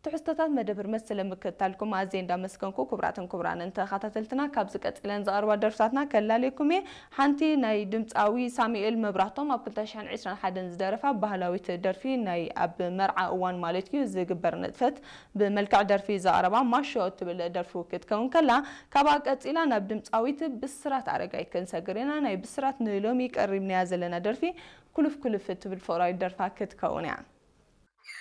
ትሕዝቶታት መደብር መሰለ ምክትታልኩም ኣዝየ እንዳመስገንኩ፣ ክቡራትን ክቡራንን ተኸታተልትና፣ ካብዚ ቀጺለን ዝቐርባ ደርፍታትና ከላልየኩም እየ። ሓንቲ ናይ ድምጻዊ ሳሙኤል መብራህቶም ኣብ ክልተ ሽሕን ዕስራን ሓደን ዝደረፋ ባህላዊት ደርፊ፣ ናይ ኣብ መርዓ እዋን ማለት እዩ ዝግበር ንጥፈት ብመልክዕ ደርፊ ዘቕረባ ማሾ እትብል ደርፉ ክትከውን ከላ፣ ካብኣ ቀጺላ ናብ ድምጻዊት ብስራት ኣረጋይ ክንሰግር ኢና። ናይ ብስራት ንሎሚ ቀሪብናያ ዘለና ደርፊ ኩልፍ ኩልፍ እትብል ፍቕራዊት ደርፋ ክትከውን እያ።